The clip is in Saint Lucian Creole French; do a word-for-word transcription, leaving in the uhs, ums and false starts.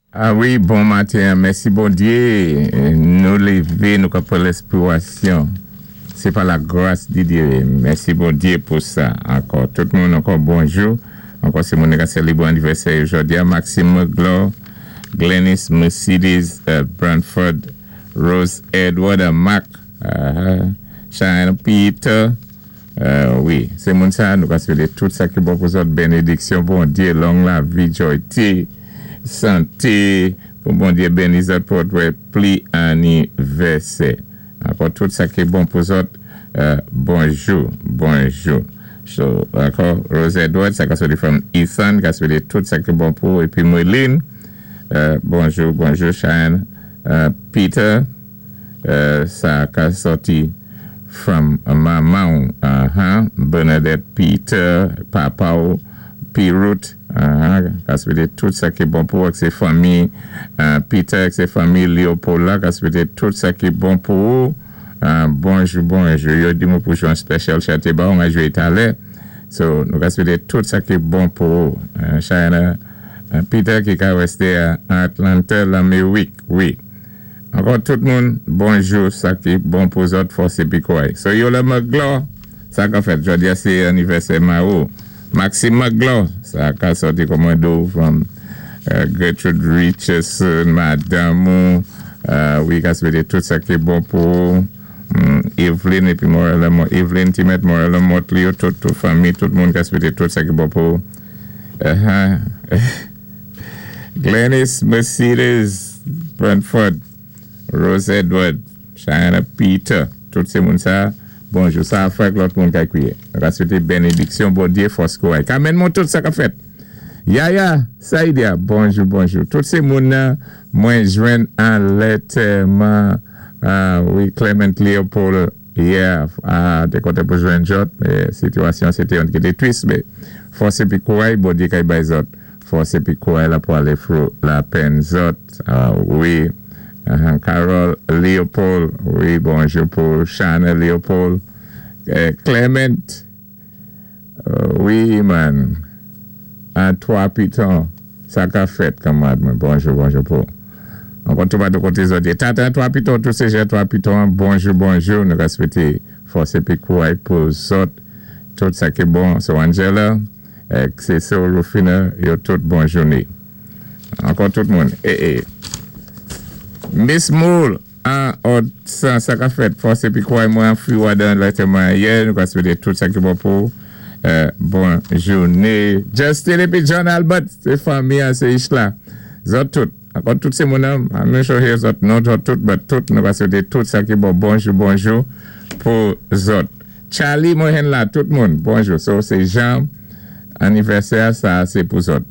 Ah wi, bon maten, mèsi Bondyé. Nou lévé, nou ka pran lespirasyon. Sé pa la gras di Dye. Mèsi Bondyé pou sa. Ankò, tout moun ankò bonjou. Ankò sé moun ki sélébwé anivèsè jòdi a. Maxime McGlaw, Glennis Mercedes uh, Branford, Rose Edward, uh, Mark, uh, Cheyenne Peter. Uh, wi, sé moun sa, nou ka swété tout sa ki bon pou zòt, bénédiksyon, Bondyé, long lavi, joyti, santé, pou Bondyé béni zòt pou wè pli anivèsè. Ankò tout sa ki bon pou zòt, uh, bonjou, bonjou. So, ankò, Rose Edward, sa ka soti from Ethan, ka swété tout sa ki bon pou, épi Moline, uh, bonjou, bonjou, Cheyenne, uh, Peter, uh, sa ka soti from manman, uh-huh, Bernadette Peter, papa ou, Pirut, uh-huh, ka swété tout sa ki bon pou, ak sé fanmi, uh, Peter, ak sé fanmi Leopold la, ka swété tout sa ki bon pou, uh, bonjou, bonjou, yo di mwen pou jwé an special chanté ba, on a jwé talè, so, nou ka swété tout sa ki bon pou, uh, Cheyenne, uh, Peter ki ka wésté à Atlanta, Laméwik, wi. Ankò tout moun, bonjou, sa ki bon pou zòt, fòs épi kouray. So, yo la McGlaw, sa ka fèt, jòdi a sé anivèsè ma ou. Maxime McGlaw, sa ka soti kòmando from uh, Gertrude Richardson, madame ou, uh, wi, ka swété tout sa ki bon pou um, Evelyn épi Morella, Evelyn Timet, Morella Motley, tout, tout fanmi, tout moun ka swété tout sa ki bon pou. Uh-huh. Glennis Mercedes Brentford, Rose Edward, Cheyenne Peter, tout sé moun sa, bonjou, sa a fèk lòt moun ka kwiyé. Ka swété bénédiksyon, Bondyé, fòs kouray. Kamen moun tout sa ka fèt. Yaya, Saïdia, bonjou, bonjou. Tout sé moun nan, mwen jwenn an lètèman, wi, Clement Leopold, yeah, te kontan pou jwenn jòt, mé sitiyasyon sé té yon ki té tris, mé fòs épi kouray, Bondyé kay bay zòt. Fòs épi kouray la pou alé through lapenn zòt, wi, Carol Leopold, wi, bonjou pou Shana Leopold, Clement, wi, man, an twa piton, sa ka fèt kanmad mwen, bonjou, bonjou pou. Ankò tou pa de koté zòt. Tata twa piton, tout sé jè twa piton, bonjou, bonjou, nou ka swété fòs épi kouray pou zòt, tout sa ki bon, so Angela, ek sé so Rufina, yo tout bon jouné. Ankò tout moun, e e. Miss Moule, an, od, sa, sa ka fèt, fòs épi kouray mwen fwi wadan lètèman yè, nou ka swété tout sa ki bon pou, bon jouné. Justin épi John Albert, sé fanmi an, sé Ishla, zòt tout. Ankò tout sé moun nan, I'm not sure here zòt, non zòt tout, but tout, nou ka swété tout sa ki bon, bonjou, bonjou, pou zòt. Charlie Mohen la, tout moun, bonjou. So, sé Jean, anivèsè, sa, sé pou zòt.